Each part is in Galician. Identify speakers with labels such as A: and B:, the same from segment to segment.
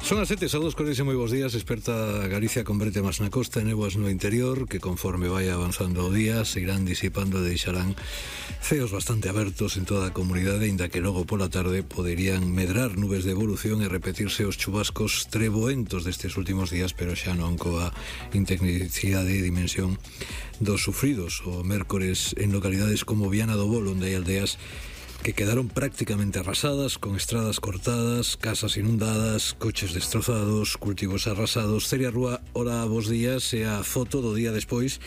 A: Son as 7, saúdos, cordiais e moi bons días. Esperta Galicia con brete máis na costa e néboas no interior, que conforme vai avanzando o día se irán disipando e deixarán ceos bastante abertos en toda a comunidade, inda que logo pola tarde poderían medrar nubes de evolución e repetirse os chubascos treboentos destes últimos días, pero xa non coa intensidade e dimensión dos sufridos o mércores en localidades como Viana do Bolo, onde hai aldeas que quedaron prácticamente arrasadas, con estradas cortadas, casas inundadas, coches destrozados, cultivos arrasados. Celia Rúa, hola, bos días, e a foto do día despois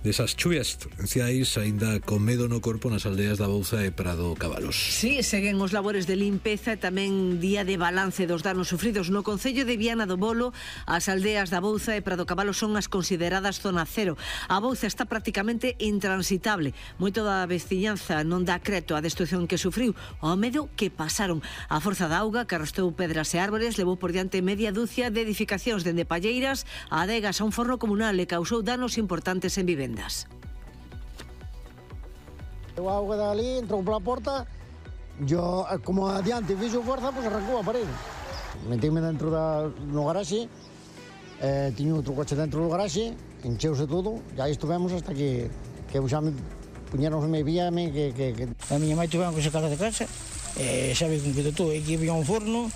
A: desas chuvias torrenciais, aínda con medo no corpo nas aldeas da Bouza e Prado Cabalos.
B: Sí, seguen os labores de limpeza e tamén día de balance dos danos sufridos no concello de Viana do Bolo. As aldeas da Bouza e Prado Cabalos son as consideradas zona cero. A Bouza está prácticamente intransitable. Moito da veciñanza non dá creto á destrucción que sufriu, ao medo que pasaron. A forza da auga que arrastou pedras e árboles levou por diante media dúcia de edificacións dende palleiras a adegas a un forno comunal e causou danos importantes en vivendas.
C: A auga dali entrou pola porta, yo como adiante fixo forza, pues arrancou a parede. Metíme dentro no garaxe, tiño outro coche dentro do garaxe, encheuse todo, e aí estuvemos hasta que xa me puñeron me víame que...
D: A miña mãe tuveron que sacar de casa, sabe con que todo, aquí había un forno.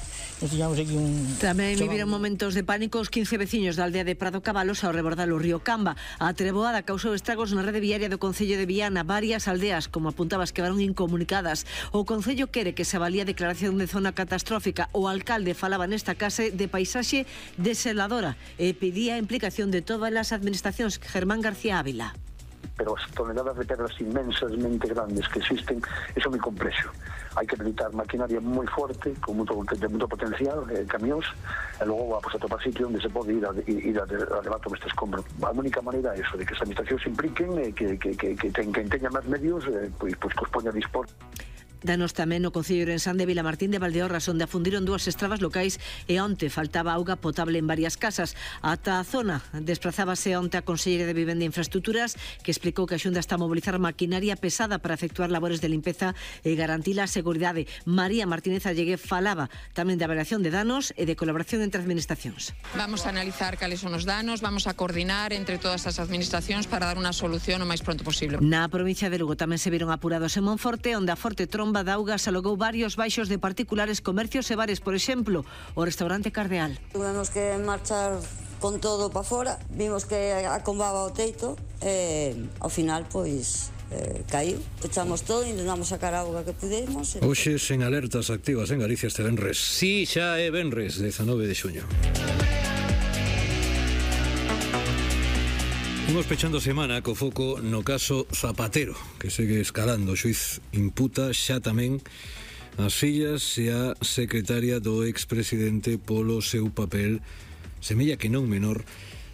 B: Tamén viviron momentos de pánico os 15 veciños da aldea de Prado Cabalos ao rebordar o río Camba. A treboada causou estragos na rede viaria do concello de Viana. Varias aldeas, como apuntabas, quedaron incomunicadas. O concello quere que se avalía a declaración de zona catastrófica. O alcalde falaba nesta casa de paisaxe desoladora e pedía a implicación de todas as administracións. Germán García Ávila.
E: Pero as toneladas de pedras inmensamente grandes que existen, eso é moi complexo. Hai que habilitar maquinaria moi forte, con moito potencial, camións, e logo a topar sitio onde se pode ir a levar todo este escombro. A única maneira é eso, de que as administracións se impliquen e que teñan máis medios, pois que os poña a dispor.
B: Danos tamén no concello de Ourensán de Vilamartín de Valdeorras, onde afundiron dúas estradas locais e onte faltaba auga potable en varias casas. Ata a zona desprazábase onte a conselleira de Vivenda e Infraestructuras, que explicou que a Xunta está a mobilizar maquinaria pesada para efectuar labores de limpeza e garantir a seguridade. María Martínez Allegué falaba tamén de avaliación de danos e de colaboración entre administracións.
F: Vamos a analizar cales son os danos, vamos a coordinar entre todas as administracións para dar unha solución o máis pronto posible.
B: Na provincia de Lugo tamén se viron apurados en Monforte, onde a forte tromba de auga se alogou varios baixos de particulares, comercios e bares, por exemplo, o restaurante Cardeal.
G: Tuvemos que marchar con todo para fora, vimos que acombaba o teito e ao final, pois, caiu. Pechamos todo, intentamos sacar a auga que pudemos.
A: Hoxe sen alertas activas en Galicia este venres. Si, xa é venres, 19 de xuño. Imos pechando a semana co foco no caso Zapatero, que segue escalando. O xuiz imputa xa tamén as fillas e a secretaria do expresidente polo seu papel, semella que non menor,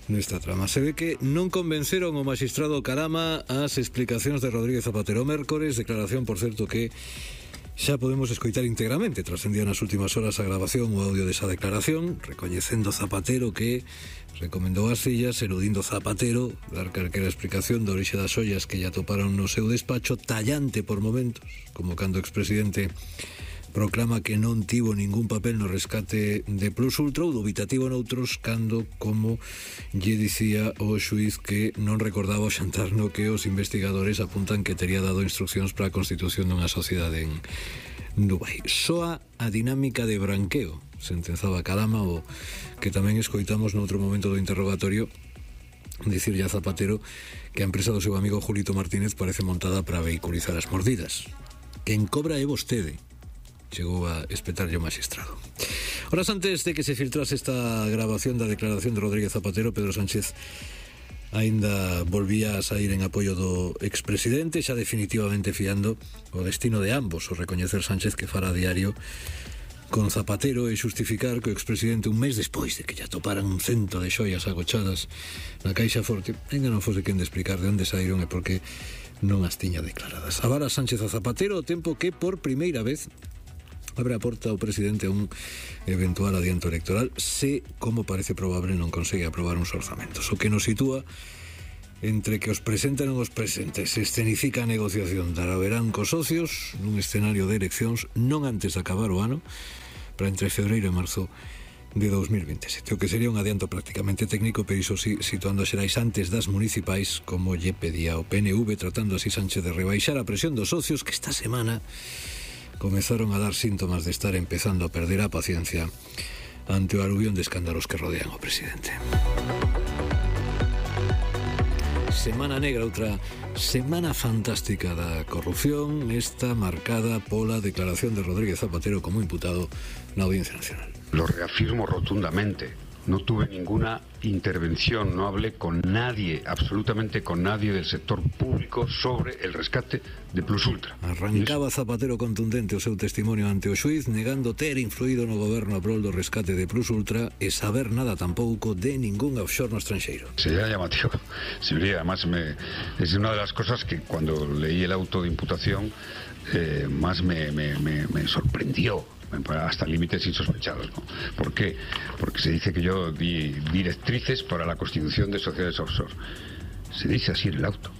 A: nesta trama. Se ve que non convenceron o magistrado Carama as explicacións de Rodríguez Zapatero mércores, declaración, por certo, que xa podemos escoitar íntegramente. Trascendía nas últimas horas a grabación o audio desa declaración, recoñecendo Zapatero que recomendou ás fillas, eludindo Zapatero dar calquera explicación da orixe das ollas que lle atoparon no seu despacho, tallante por momentos, como cando o expresidente proclama que non tivo ningún papel no rescate de Plus Ultra, ou dubitativo noutros, cando, como lle dicía o xuiz, que non recordaba o xantar no que os investigadores apuntan que tería dado instruccións para a constitución dunha sociedade en Dubai. Soa a dinámica de branqueo, sentenzaba Carama, o que tamén escoitamos noutro momento do interrogatorio dicirlle a Zapatero que a empresa do seu amigo Julito Martínez parece montada para vehiculizar as mordidas. Quen cobra é vostede, chegou a espetarlle o magistrado. Horas antes de que se filtrase esta grabación da declaración de Rodríguez Zapatero, Pedro Sánchez aínda volvía a sair en apoio do expresidente, xa definitivamente fiando o destino de ambos, o recoñecer Sánchez que fara a diario con Zapatero e xustificar que o expresidente, un mes despois de que lle atoparan un cento de xoias agochadas na caixa forte, ainda non fose quen de explicar de onde saíron e por que non as tiña declaradas. Avara Sánchez a Zapatero o tempo que por primeira vez abre a porta ao presidente a un eventual adianto electoral se, como parece probable, non consegue aprobar uns orzamentos, o que nos sitúa entre que os presentan os presentes, se escenifica a negociación dará verán cos socios nun escenario de eleccións non antes de acabar o ano, para entre febreiro e marzo de 2027, o que sería un adianto prácticamente técnico, pero iso sí, situando a Xerais antes das municipais, como lle pedía o PNV, tratando así Sánchez de rebaixar a presión dos socios que esta semana comezaron a dar síntomas de estar empezando a perder a paciencia ante o aluvión de escándalos que rodean ao presidente. Semana negra, outra semana fantástica da corrupción, esta marcada pola declaración de Rodríguez Zapatero como imputado na Audiencia Nacional.
H: Lo reafirmo rotundamente. No tuve ninguna intervención, no hablé con nadie, absolutamente con nadie del sector público sobre el rescate de Plus Ultra.
A: Arrancaba Zapatero contundente o seu testimonio ante o xuiz, negando ter influído no goberno a prol do rescate de Plus Ultra e saber nada tampouco de ningún offshore no estranxeiro.
H: Sería llamativo. Sería, además, es una de las cosas que cuando leí el auto de imputación más me sorprendió. Hasta límites insospechados, ¿no? ¿Por qué? Porque se dice que yo di directrices para la constitución de sociedades offshore. Se dice así en el auto.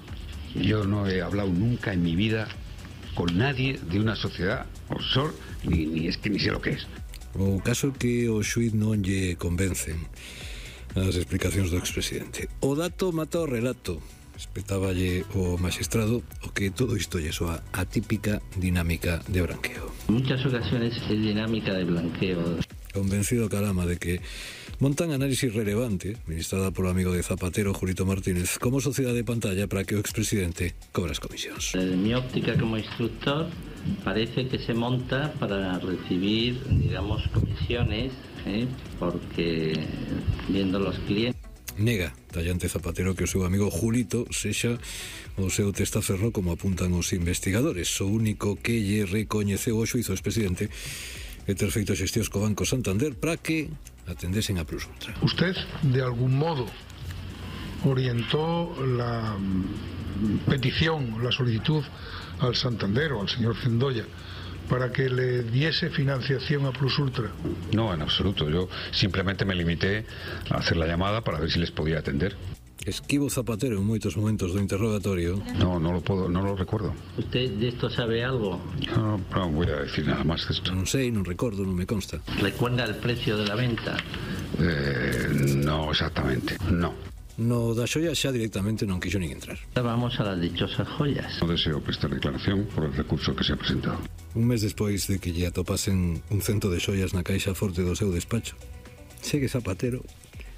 H: Yo no he hablado nunca en mi vida con nadie de una sociedad offshore, ni sé lo que es.
A: O caso que o xuiz non lle convencen as explicacións do expresidente. O dato mata o relato. Espetáballe o magistrado o que todo isto lle soa a típica dinámica de branqueo.
I: En muchas ocasiones es dinámica de blanqueo.
A: Convencido Calama de que montan análisis relevante, ministrada polo amigo de Zapatero, Julito Martínez, como sociedade de pantalla para que o expresidente cobre as comisións.
I: Desde mi óptica como instructor, parece que se monta para recibir, digamos, comisiones, porque viendo los clientes.
A: Nega tallante Zapatero que o seu amigo Julito sexa o seu testaferro, como apuntan os investigadores. O único que lle recoñeceu o xuizo expresidente é ter feito xestións co Banco Santander para que atendesen a Plus Ultra.
J: Usted, de algún modo, orientó la petición, la solicitud al Santander o al señor Cendoya para que le diese financiación a Plus Ultra?
H: No, en absoluto. Yo simplemente me limité a hacer la llamada para ver si les podía atender.
A: Esquivo Zapatero en moitos momentos do interrogatorio.
H: No lo recuerdo.
I: ¿Usted de esto sabe algo?
H: No voy a decir nada más de esto.
A: Non sei, non recordo, non me consta.
I: ¿Recuerda el precio de la venta?
H: No exactamente, no.
A: No da xoia xa directamente non quixo nin entrar.
I: Vamos a las dichosas joyas.
H: No deseo prestar declaración por el recurso que se ha presentado.
A: Un mes despois de que lle atopasen un cento de xoias na caixa forte do seu despacho, segue Zapatero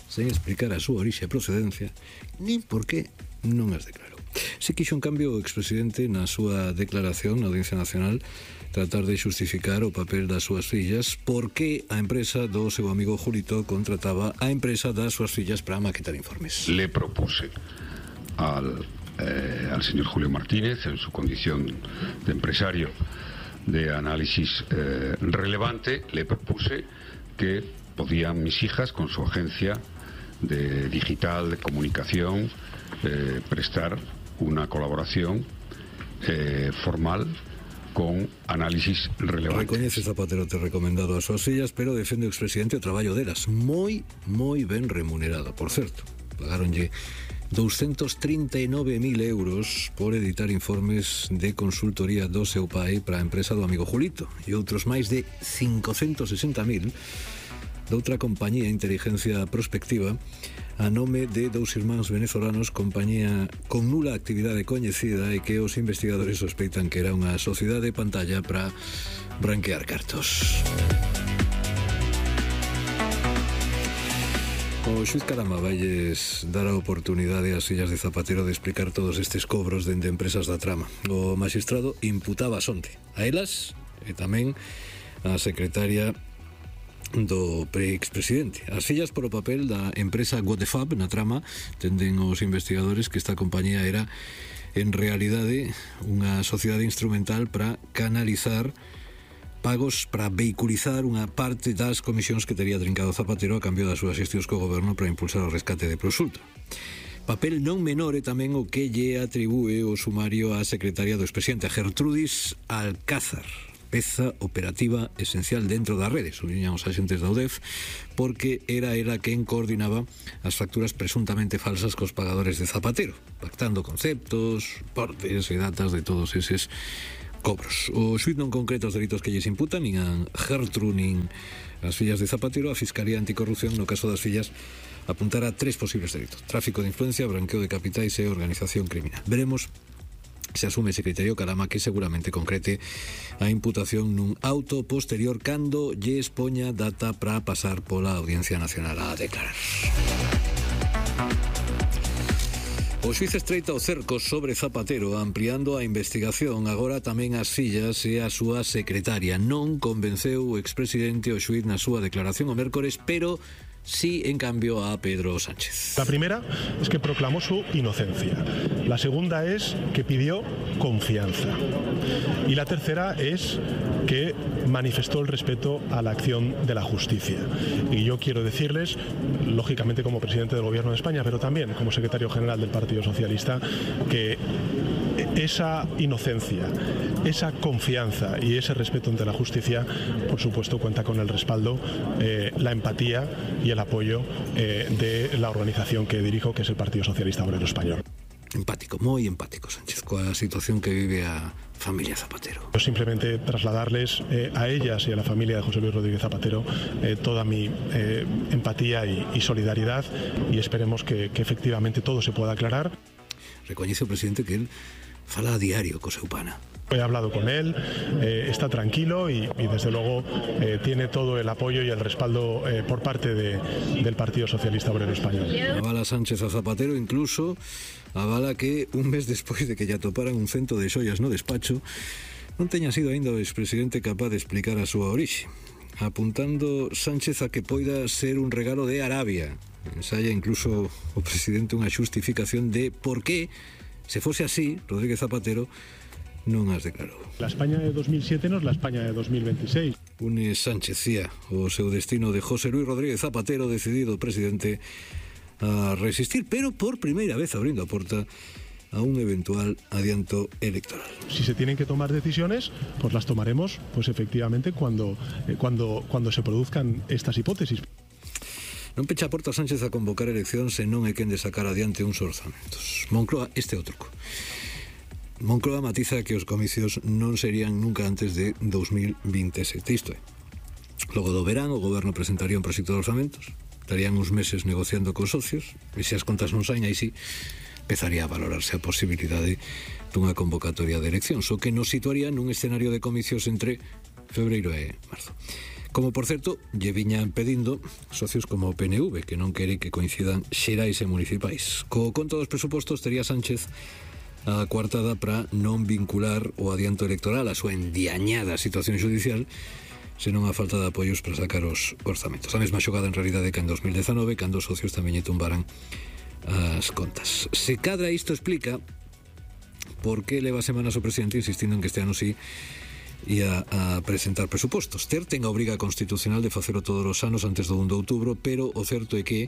A: sen explicar a súa orixe e procedencia, nin por qué non as declarou. Se quixo, en cambio, o expresidente na súa declaración na Audiencia Nacional tratar de xustificar o papel das súas fillas, porque a empresa do seu amigo Julito contrataba a empresa das súas fillas para maquetar informes.
H: Le propuse al señor Julio Martínez, en su condición de empresario de análisis relevante, le propuse que podían mis hijas, con su agencia de digital, de comunicación, prestar una colaboración formal con análisis relevantes.
A: Recoñece Zapatero ter recomendado as súas fillas, pero defende o expresidente o traballo delas, moi ben remunerado, por certo. Pagaronlle 239.000 euros por editar informes de consultoría do seu pai para a empresa do amigo Julito e outros máis de 560.000 doutra compañía de inteligencia prospectiva a nome de dous irmáns venezolanos, compañía con nula actividade coñecida e que os investigadores sospeitan que era unha sociedade de pantalla para branquear cartos. O xuiz Calama vailles dar a oportunidade ás fillas de Zapatero de explicar todos estes cobros dende empresas da trama. O magistrado imputaba onte a elas e tamén a secretaria do pre-expresidente. As fillas por o papel da empresa Godefab na trama tenden os investigadores que esta compañía era en realidade unha sociedade instrumental para canalizar pagos para vehiculizar unha parte das comisións que tería trincado Zapatero a cambio das súas xestións co goberno para impulsar o rescate de Plus Ultra. Papel non menor é tamén o que lle atribúe o sumario á secretaria do expresidente, Gertrudis Alcázar, peza operativa esencial dentro da rede, subliñan os axentes da UDEF, porque era ela quen coordinaba as facturas presuntamente falsas cos pagadores de Zapatero, pactando conceptos, portes e datas de todos eses cobros. O xuíz non concreta os delitos que lles imputan nin a Gertrude nin as fillas de Zapatero. A Fiscalía Anticorrupción, no caso das fillas, apuntara a 3 posibles delitos: tráfico de influencia, branqueo de capitais e organización criminal. Veremos se asume ese criterio Calama, que seguramente concrete a imputación nun auto posterior cando lles poña data para pasar pola Audiencia Nacional a declarar. O xuíz estreita o cerco sobre Zapatero, ampliando a investigación. Agora tamén as fillas e a súa secretaria. Non convenceu o expresidente o xuíz na súa declaración o mércores, pero sí, en cambio, a Pedro Sánchez.
K: La primera es que proclamó su inocencia. La segunda es que pidió confianza. Y la tercera es que manifestó el respeto a la acción de la justicia. Y yo quiero decirles, lógicamente como presidente del Gobierno de España, pero también como secretario general del Partido Socialista, que esa inocencia, esa confianza y ese respeto ante la justicia, por supuesto, cuenta con el respaldo, la empatía y el apoyo de la organización que dirijo, que es el Partido Socialista Obrero Español.
A: Empático, moi empático Sánchez coa situación que vive a familia Zapatero.
K: Yo simplemente trasladarles a ellas y a la familia de José Luis Rodríguez Zapatero toda mi empatía y solidaridad, y esperemos que efectivamente todo se pueda aclarar.
A: Recoñece o presidente que él fala a diario co seu pana.
K: He hablado con él, está tranquilo y desde luego tiene todo el apoyo y el respaldo por parte del Partido Socialista Obrero Español.
A: Avala Sánchez a Zapatero, incluso avala que un mes despois de que lle atoparan un cento de xoias no despacho, non teña sido aínda o expresidente capaz de explicar a súa orixe, apuntando Sánchez a que poida ser un regalo de Arabia. Ensaya incluso o presidente unha xustificación de por qué, se fose así, Rodríguez Zapatero non as declarou.
K: La España de 2007 no es la España de 2026.
A: Une Sánchez cía o seu destino de José Luis Rodríguez Zapatero, decidido o presidente a resistir, pero por primeira vez abrindo a porta a un eventual adianto electoral.
K: Si se tienen que tomar decisiones, pues las tomaremos, pues efectivamente cuando se produzcan estas hipótesis.
A: Non pecha a porta Sánchez a convocar eleccións se non é quen de sacar adiante uns orzamentos. Moncloa, este é o truco. Moncloa matiza que os comicios non serían nunca antes de 2027. Isto é, logo do verán o goberno presentaría un proxecto de orzamentos, estarían uns meses negociando cos socios, e se as contas non saen, aí sí empezaría a valorarse a posibilidade dunha convocatoria de eleccións, o que nos situaría nun escenario de comicios entre febreiro e marzo. Como, por certo, lle viñan pedindo socios como o PNV, que non quere que coincidan xerais e municipais. Co conto dos presupostos tería Sánchez a coartada para non vincular o adianto electoral a súa endiañada situación judicial, senón a falta de apoios para sacar os orzamentos. A mesma xogada en realidade que en 2019, cando os socios tamén lle tumbaran as contas. Se cadra isto explica por que leva semanas o presidente insistindo en que este ano sí ia a presentar presupostos. Ter ten a obriga constitucional de facelo todos os anos antes do 1 de outubro, pero o certo é que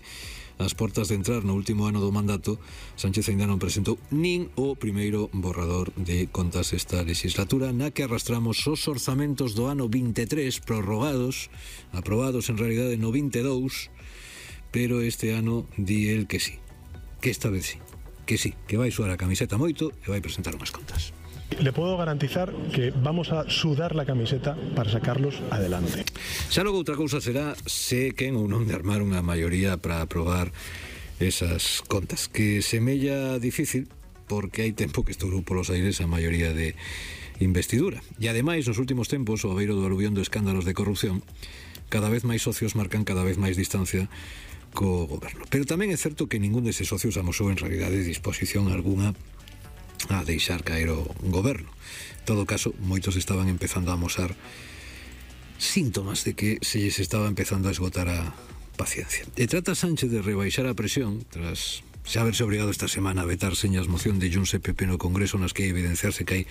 A: ás portas de entrar no último ano do mandato, Sánchez aínda non presentou nin o primeiro borrador de contas esta legislatura, na que arrastramos os orzamentos do ano 23 prorrogados, aprobados en realidade no 22, pero este ano di el que sí, que esta vez sí, que vai suar a camiseta moito e vai presentar unhas contas.
K: Le puedo garantizar que vamos a sudar la camiseta para sacarlos adelante.
A: Xa logo outra cousa será se quen ou non de armar unha maioría para aprobar esas contas, que semella difícil porque hai tempo que estourou polos aires a maioría de investidura. E ademais, nos últimos tempos, o abeiro do aluvión de escándalos de corrupción, cada vez máis socios marcan cada vez máis distancia co goberno. Pero tamén é certo que ningún deses socios amosou en realidade disposición alguna a deixar caer o goberno. En todo caso, moitos estaban empezando a amosar síntomas de que se lles estaba empezando a esgotar a paciencia. E trata Sánchez de rebaixar a presión tras xa haberse obrigado esta semana a vetar señas moción de Junts e PP no Congreso, nas que evidenciarse que hai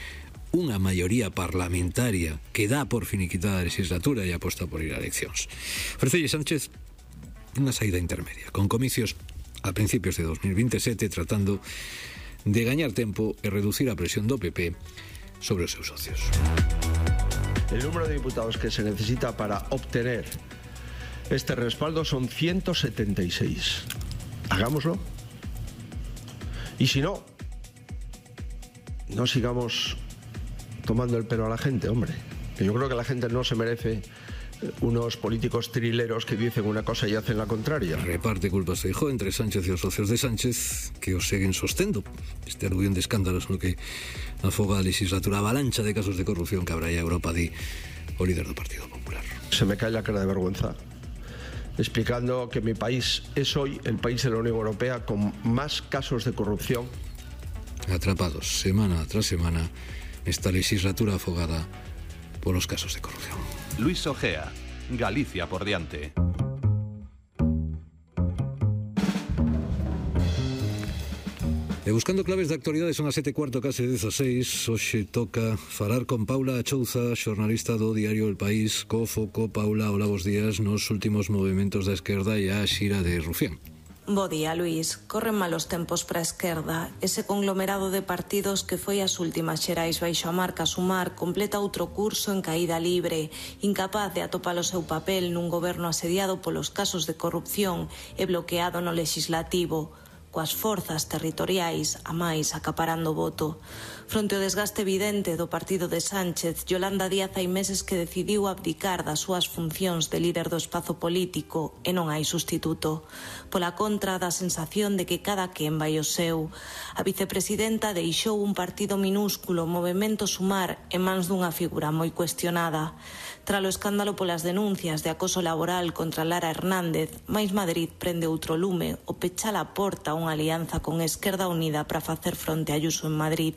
A: unha maioría parlamentaria que dá por finiquitada a legislatura e aposta por ir a eleccións. Ofrecelle Sánchez unha saída intermedia, con comicios a principios de 2027, tratando de gañar tempo e reducir a presión do PP sobre os seus socios.
L: El número de diputados que se necesita para obtener este respaldo son 176. Hagámoslo. Y si no, no sigamos tomando el pelo a la gente, hombre. Que yo creo que la gente no se merece unos políticos trileros que dicen una cosa y hacen la contraria.
A: Reparte culpas Feijóo entre Sánchez e os socios de Sánchez que os seguen sostendo este aluvión de escándalos no que afoga a legislatura avalancha de casos de corrupción que habrá a Europa, di o líder do Partido Popular.
L: Se me cae la cara de vergüenza explicando que mi país es hoy el país de la Unión Europea con más casos de corrupción.
A: Atrapados semana tras semana esta legislatura afogada por los casos de corrupción.
M: Luis Ojea, Galicia por diante.
A: E buscando claves de actualidade son as 7:15, case 16. Hoxe toca falar con Paula Achouza, xornalista do diario El País, co foco. Paula, hola, bos días nos últimos movimentos da esquerda e a xira de Rufián.
N: Bo día, Luís. Corren malos tempos para a esquerda. Ese conglomerado de partidos que foi as últimas xerais baixo a marca Sumar completa outro curso en caída libre, incapaz de atopar o seu papel nun goberno asediado polos casos de corrupción e bloqueado no legislativo, coas forzas territoriais a máis acaparando voto. Fronte ao desgaste evidente do partido de Sánchez, Yolanda Díaz hai meses que decidiu abdicar das súas funcións de líder do espazo político e non hai sustituto. Pola contra, dá a sensación de que cada quen vai o seu. A vicepresidenta deixou un partido minúsculo, Movemento Sumar, en mans dunha figura moi cuestionada. Tralo escándalo polas denuncias de acoso laboral contra Lara Hernández, Mais Madrid prende outro lume o pecha a porta a unha alianza con Esquerda Unida para facer fronte a Ayuso en Madrid.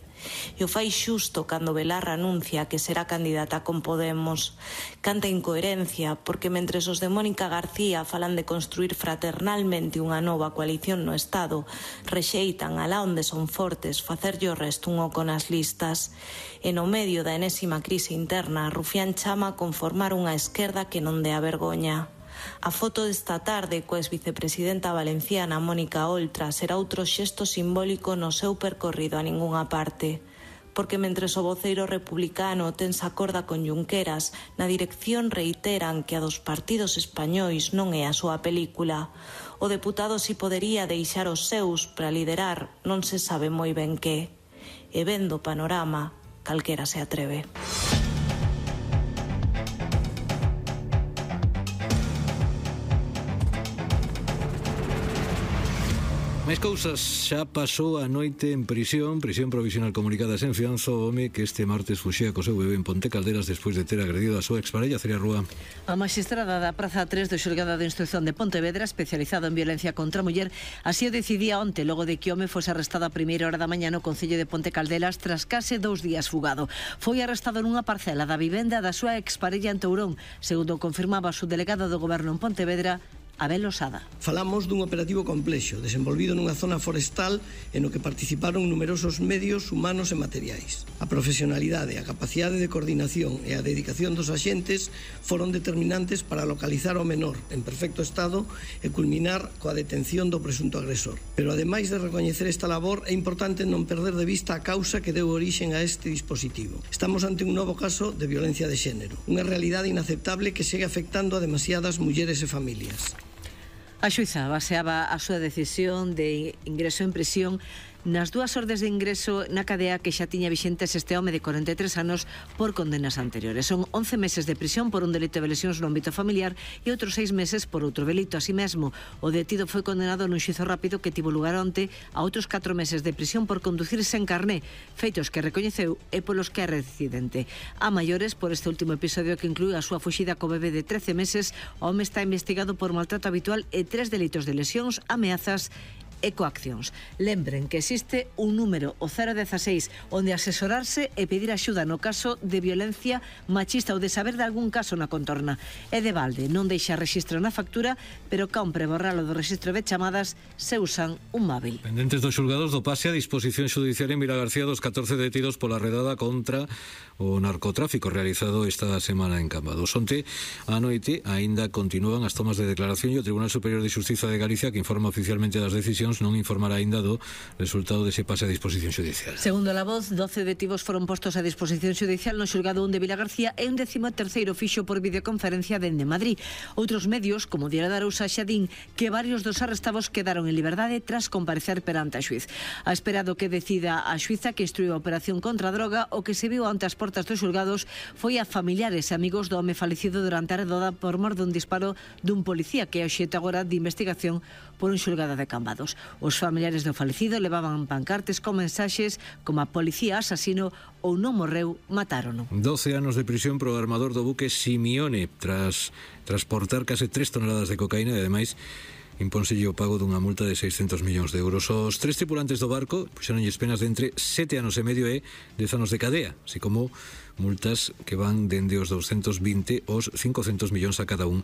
N: E o fai xusto cando Belarra anuncia que será candidata con Podemos. Canta incoherencia, porque mentres os de Mónica García falan de construir fraternalmente unha nova coalición no Estado, rexeitan alá onde son fortes facerlle o resto un oco nas listas. E no medio da enésima crise interna, Rufián chama a conformar unha esquerda que non dea vergoña. A foto desta tarde coa exvicepresidenta valenciana Mónica Oltra será outro xesto simbólico no seu percorrido a ningunha parte. Porque mentres o voceiro republicano tensa corda con Junqueras, na dirección reiteran que a dos partidos españois non é a súa película. O deputado si podería deixar os seus para liderar non se sabe moi ben que. E vendo o panorama, calquera se atreve.
A: Máis cousas, xa pasou a noite en prisión provisional comunicada sen fianza o home que este martes fuxía co seu bebé en Ponte Calderas despois de ter agredido a súa exparella, Celia Rúa.
B: A magistrada da Praza 3 do Xulgado de Instrucción de Pontevedra, especializado en violencia contra a muller, así o decidía onte, logo de que o home fose arrestado a primeira hora da mañá no Concello de Ponte Calderas tras case 2 días fugado. Foi arrestado nunha parcela da vivenda da súa exparella en Tourón, segundo confirmaba o subdelegado do Goberno en Pontevedra, Abel Osada.
O: Falamos dun operativo complexo, desenvolvido nunha zona forestal en o que participaron numerosos medios humanos e materiais. A profesionalidade, a capacidade de coordinación e a dedicación dos axentes foron determinantes para localizar ao menor en perfecto estado e culminar coa detención do presunto agresor. Pero ademais de recoñecer esta labor, é importante non perder de vista a causa que deu orixen a este dispositivo. Estamos ante un novo caso de violencia de xénero, unha realidade inaceptable que segue afectando a demasiadas mulleres e familias.
B: A xuíza baseaba a súa decisión de ingreso en prisión nas 2 ordes de ingreso na cadea que xa tiña vixentes este home de 43 anos por condenas anteriores. Son 11 meses de prisión por un delito de lesións no ámbito familiar e outros 6 meses por outro delito. Así mesmo, o detido foi condenado nun xuízo rápido que tivo lugar onte a outros 4 meses de prisión por conducir sen carné, feitos que recoñeceu e polos que é reincidente. A maiores, por este último episodio que inclúe a súa fuxida co bebé de 13 meses, o home está investigado por maltrato habitual e 3 delitos de lesións, ameazas e coaccións. Lembren que existe un número, o 016, onde asesorarse e pedir axuda no caso de violencia machista ou de saber de algún caso na contorna. E de balde, non deixa rexistro na factura, pero compre borralo do rexistro de chamadas se usan un móvil.
A: Pendentes dos xulgados do pase a disposición xudicial en Vilagarcía dos 14 detidos pola redada contra o narcotráfico realizado esta semana en Cambados. Onte, a noite, aínda continúan as tomas de declaración e o Tribunal Superior de Xustiza de Galicia, que informa oficialmente das decisións Investigacións non informará aínda do resultado dese pase a disposición xudicial.
B: Segundo La Voz, 12 detivos foron postos a disposición xudicial no xulgado 1 de Vilagarcía e un 13º fixo por videoconferencia dende Madrid. Outros medios, como Diario da Arousa, xa din que varios dos arrestados quedaron en liberdade tras comparecer perante a xuiz. A espera do que decida a xuiza que instruiu a operación contra a droga, o que se viu ante as portas dos xulgados foi a familiares e amigos do home falecido durante a redada por mor dun disparo dun policía, que é obxecto agora de investigación por un xulgado de Cambados. Os familiares do falecido levaban pancartes con mensaxes como a policía asasino ou non morreu, matárono.
A: 12 anos de prisión pro armador do buque Simione tras transportar case 3 toneladas de cocaína e ademais impónselle o pago dunha multa de 600 millóns de euros. Os 3 tripulantes do barco puxeronlles penas de entre 7 anos e medio e 10 anos de cadea, así como multas que van dende os 220 aos 500 millóns a cada un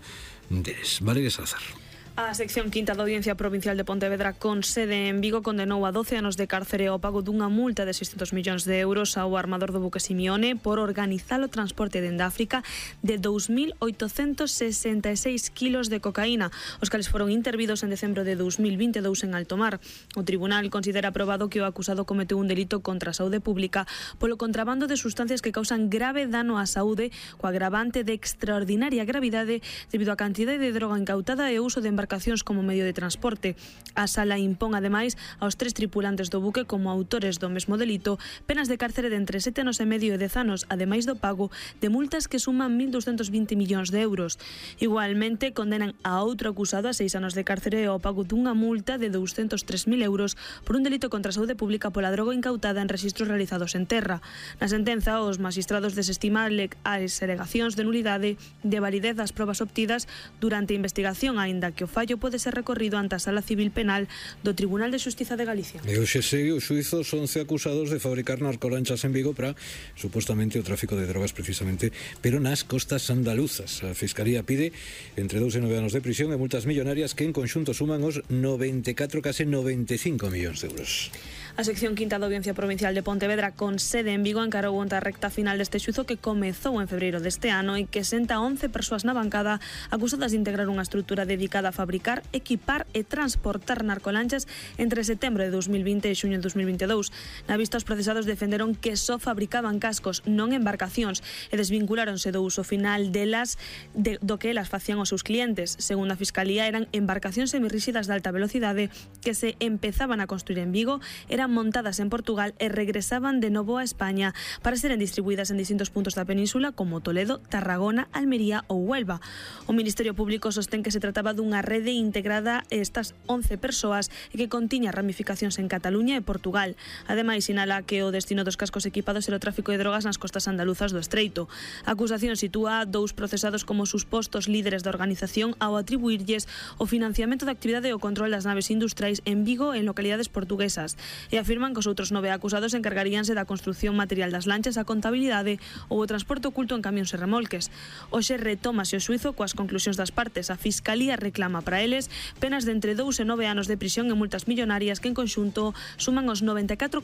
A: deles. Valeria Salazar.
P: A sección quinta da Audiencia Provincial de Pontevedra con sede en Vigo condenou a 12 anos de cárcere ao pago dunha multa de 600 millóns de euros ao armador do buque Simione por organizar o transporte dende África de 2.866 kilos de cocaína, os cales foron intervidos en decembro de 2022 en alto mar. O tribunal considera aprobado que o acusado cometeu un delito contra a saúde pública polo contrabando de sustancias que causan grave dano á saúde, co agravante de extraordinaria gravidade debido á cantidade de droga incautada e o uso de embarcacións como medio de transporte. A sala impón ademais aos 3 tripulantes do buque como autores do mesmo delito penas de cárcere de entre 7 anos e medio e 10 anos, ademais do pago de multas que suman 1.220 millóns de euros. Igualmente condenan a outro acusado a 6 anos de cárcere e ao pago dunha multa de 203.000 euros por un delito contra a saúde pública pola droga incautada en rexistros realizados en terra. Na sentenza, os magistrados desestiman as alegacións de nulidade de validez das probas obtidas durante a investigación, aínda que o fallo pode ser recorrido ante a Sala Civil Penal do Tribunal de Xustiza de Galicia.
A: E hoxe segue o xuízo 11 acusados de fabricar narcolanchas en Vigo para supostamente o tráfico de drogas precisamente, pero nas costas andaluzas. A Fiscalía pide entre 2 e 9 anos de prisión e multas millonarias que en conxunto suman os 94, case 95 millóns de euros.
P: A sección quinta da Audiencia Provincial de Pontevedra con sede en Vigo encarou onte a recta final deste xuízo que comezou en febreiro deste ano e que senta 11 persoas na bancada acusadas de integrar unha estrutura dedicada a fabricar, equipar e transportar narcolanchas entre setembro de 2020 e xuño de 2022. Na vista, os procesados defenderon que só fabricaban cascos, non embarcacións, e desvinculáronse do uso final delas do que elas facían aos seus clientes. Segundo a Fiscalía, eran embarcacións semirríxidas de alta velocidade que se empezaban a construir en Vigo, eran montadas en Portugal e regresaban de novo a España para seren distribuídas en distintos puntos da península como Toledo, Tarragona, Almería ou Huelva. O Ministerio Público sostén que se trataba dunha rede integrada estas 11 persoas e que contiña ramificacións en Cataluña e Portugal. Ademais, sinala que o destino dos cascos equipados era o tráfico de drogas nas costas andaluzas do Estreito. A acusación sitúa 2 procesados como supostos líderes da organización ao atribuirlles o financiamento da actividade e o control das naves industriais en Vigo e en localidades portuguesas. E afirman que os outros 9 acusados encargaríanse da construción material das lanchas, a contabilidade ou o transporte oculto en camións e remolques. Hoxe retómase o xuízo coas conclusións das partes. A Fiscalía reclama para eles penas de entre 2 e 9 anos de prisión e multas millonarias que en conxunto suman os 94,8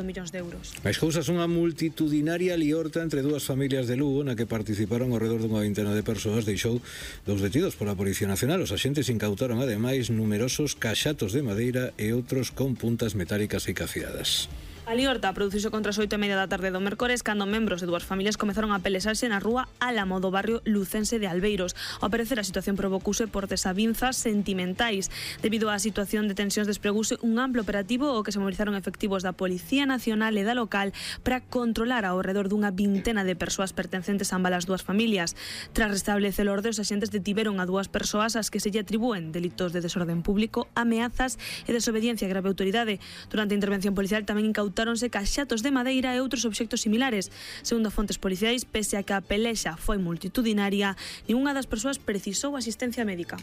P: millóns de euros.
A: Máis cousas, unha multitudinaria liorta entre 2 familias de Lugo na que participaron ao redor dunha vintena de persoas deixou 2 detidos pola Policía Nacional. Os axentes incautaron ademais numerosos caxatos de madeira e outros con puntas metálicas e cafiadas.
P: A liorta produciuse contra as 8:30 da tarde do mércores cando membros de 2 familias comezaron a pelesarse na rúa Álamo do barrio lucense de Albeiros. Ao parecer, a situación provocouse por desavinzas sentimentais. Debido á situación de tensións, despregouse un amplo operativo ao que se movilizaron efectivos da Policía Nacional e da local para controlar ao redor dunha vintena de persoas pertencentes a ambas as 2 familias. Tras restablecer o orde, os axentes detiveron a 2 persoas ás que se lle atribúen delitos de desorden público, ameazas e desobediencia a grave autoridade. Durante a intervención policial tamén incautáronse caxatos de madeira e outros obxectos similares. Segundo fontes policiais, pese a que a pelexa foi multitudinaria, ningunha das persoas precisou asistencia médica.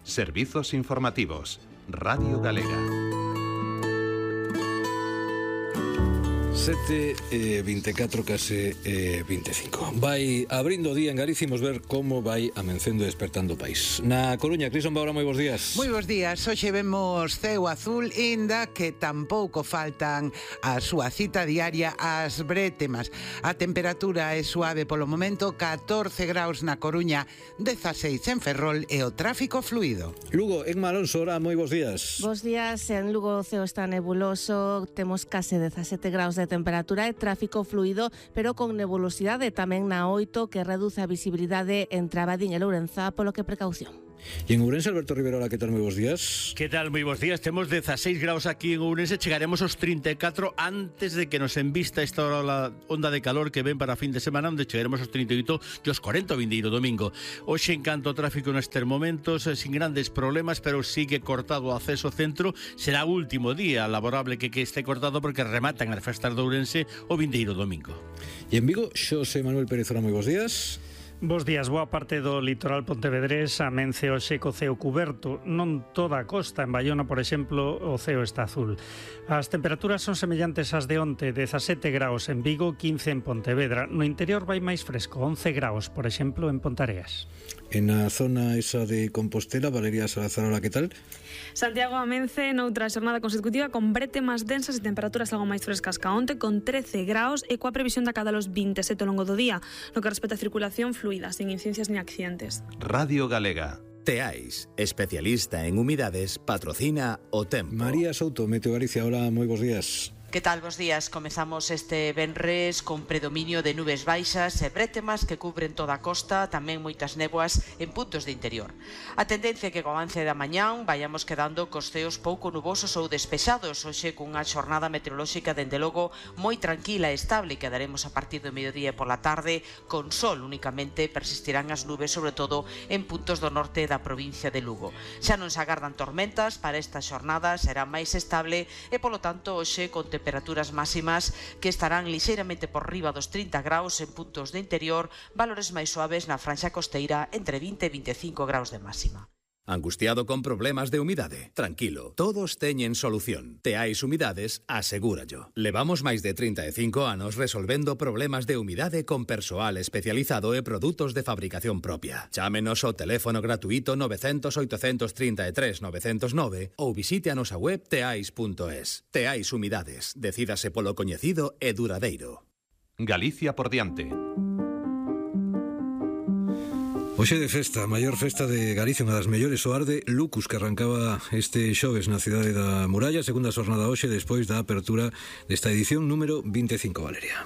M: Servizos informativos. Radio Galega.
A: 7:24, case 25. Vai abrindo o día en Galicia, imos ver como vai amencendo e despertando o país. Na Coruña, Crison Baura, moi bons días.
Q: Moi bons días, hoxe vemos ceo azul, inda que tampouco faltan a súa cita diaria ás brétemas. A temperatura é suave polo momento, 14 graus na Coruña, 16 en Ferrol e o tráfico fluido.
A: Lugo, en Alonso, ora, moi bons días.
R: Bos días, en Lugo o ceo está nebuloso, temos case 17 graus de temperatura e tráfico fluido, pero con nebulosidade tamén na 8, que reduce a visibilidade entre Abadín e Lourenzá, polo que precaución.
A: E en Ourense, Alberto Rivera, hola, que tal, moi bons días?
S: Que tal, moi bons días, temos 16 graus aquí en Ourense, chegaremos aos 34 antes de que nos envista esta onda de calor que ven para fin de semana, onde chegaremos aos 38 e aos 40 o vindeiro domingo. Hoxe en canto ao tráfico nestes momentos, sin grandes problemas, pero sigue cortado o acceso ao centro, será o último día laborable que esté cortado porque rematan as festas de Ourense o vindeiro domingo.
A: E en Vigo, Xosé Manuel Pérez, hola, moi bons días.
T: Bos días, boa parte do litoral pontevedrés amence hoxe co ceo cuberto. Non toda a costa, en Bayona, por exemplo, o ceo está azul. As temperaturas son semellantes ás de onte, 17 graus en Vigo, 15 en Pontevedra. No interior vai máis fresco, 11 graus, por exemplo, en Pontareas.
A: En a zona esa de Compostela, Valeria Salazar, hola, que tal?
P: Santiago amence noutra xornada consecutiva con brétemas densas e temperaturas algo máis frescas ca onte, con 13 graus e coa previsión de cada los 27 ao longo do día, no que respecta a circulación fluida, sin incidencias ni accidentes.
M: Radio Galega.
U: Teais, especialista en humidades, patrocina o tempo.
A: María Souto, Meteo Galicia, hola, moi bons días.
V: Que tal, bos días? Comezamos este venres con predominio de nubes baixas e brétemas que cubren toda a costa, tamén moitas néboas en puntos de interior. A tendencia é que co avance da mañán vayamos quedando cos ceos pouco nubosos ou despexados, hoxe cunha xornada meteorolóxica dende logo moi tranquila e estable, que daremos a partir do mediodía e pola tarde con sol únicamente, persistirán as nubes sobre todo en puntos do norte da provincia de Lugo. Xa non se agardan tormentas para esta xornada, será máis estable e polo tanto hoxe con temperaturas máximas que estarán lixeiramente por riba dos 30 graus en puntos de interior, valores máis suaves na franxa costeira entre 20 e 25 graus de máxima.
U: Angustiado con problemas de humidade? Tranquilo, todos teñen solución. Teais Humidades, asegúrallo. Levamos máis de 35 anos resolvendo problemas de humidade con persoal especializado e produtos de fabricación propia. Chámenos ao teléfono gratuito 900 833 909 ou visite a nosa web teais.es. Teais Humidades, decídase polo coñecido e duradeiro.
M: Galicia por diante.
A: Hoxe de festa, a maior festa de Galicia, unha das mellores, o Arde Lucus, que arrancaba este xoves na cidade da Muralla, segunda xornada hoxe despois da apertura desta edición número 25, Valeria.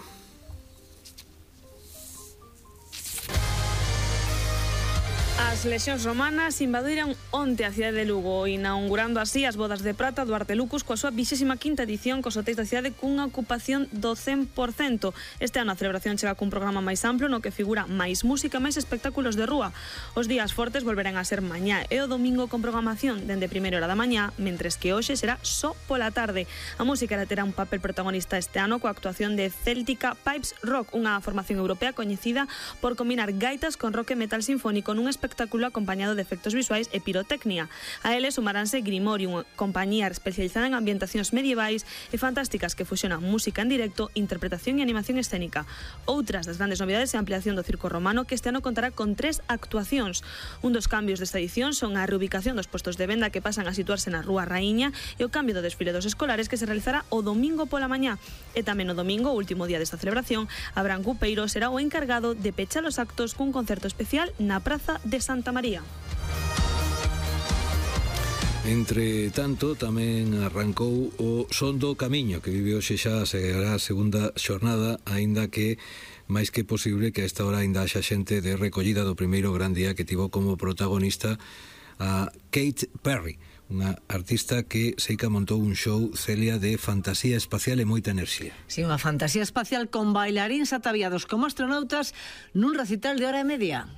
P: As lexións romanas invadiran onte a cidade de Lugo, inaugurando así as bodas de prata do Arte Lucus coa súa 25ª edición cos hotéis da cidade cunha ocupación do 100%. Este ano a celebración chega cun programa máis amplo no que figura máis música, máis espectáculos de rúa. Os días fortes volverán a ser mañá e o domingo con programación dende primeira hora da mañá, mentres que hoxe será só pola tarde. A música terá un papel protagonista este ano coa actuación de Celtica Pipes Rock, unha formación europea coñecida por combinar gaitas con rock e metal sinfónico nun espectáculo acompañado de efectos visuais e pirotecnia. A eles sumaránse Grimorium, compañía especializada en ambientacións medievais e fantásticas que fusionan música en directo, interpretación e animación escénica. Outras das grandes novidades é a ampliación do Circo Romano, que este ano contará con 3 actuacións. Un dos cambios desta edición son a reubicación dos postos de venda que pasan a situarse na Rúa Raíña e o cambio do desfile dos escolares que se realizará o domingo pola mañá. E tamén o domingo, o último día desta celebración, Abraham Cupeiro será o encargado de pechar os actos cun concerto especial na Praza de Santa María.
A: Entre tanto, tamén arrancou o Son do Camiño, que vive hoxe xa a segunda xornada, aínda que máis que posible que a esta hora aínda haxa xente de recollida do primeiro gran día que tivo como protagonista a Kate Perry, unha artista que seica montou un show, Celia, de fantasía espacial e moita enerxía.
B: Sí, unha fantasía espacial con bailaríns ataviados como astronautas nun recital de hora e media.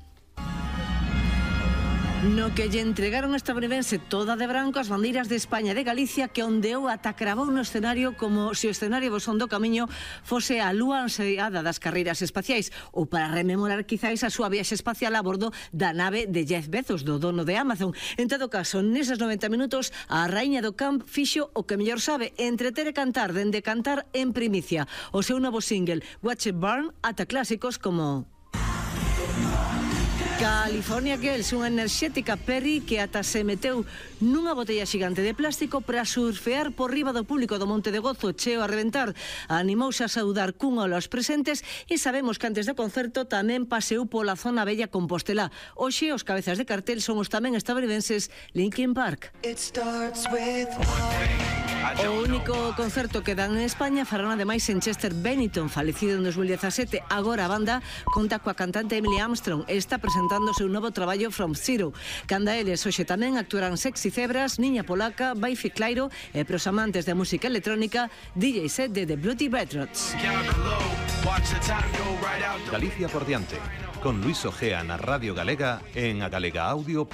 B: No que lle entregaron a estadounidense toda de branco as bandeiras de España e de Galicia, que ondeou ata cravou no escenario como se o escenario Bosón do Camiño fose a lúa ansiada das carreiras espaciais, ou para rememorar quizáis a súa viaxe espacial a bordo da nave de Jeff Bezos, do dono de Amazon. En todo caso, neses 90 minutos, a raíña do camp fixo o que mellor sabe, entreter e cantar, dende cantar en primicia o seu novo single Watch It Burn ata clásicos como California Girls, unha enerxética Perry que ata se meteu nunha botella xigante de plástico para surfear por riba do público do Monte de Gozo cheo a reventar. Animouse a saudar cun olo aos presentes e sabemos que antes do concerto tamén paseou pola zona bella Compostela. Hoxe os cabezas de cartel son os tamén estadounidenses Linkin Park. O único concerto que dan en España farán ademais en Chester Bennington, falecido en 2017. Agora a banda conta coa cantante Emily Armstrong e está presentando o seu novo traballo From Zero. Canda eles hoxe tamén actuarán Sexy Zebras, Niña Polaca, Baifi Clairo e pros amantes de música electrónica DJ set de The Bloody Bedrots.
M: Galicia por diante, con Luis Ojea na Radio Galega en agalegaudio.com.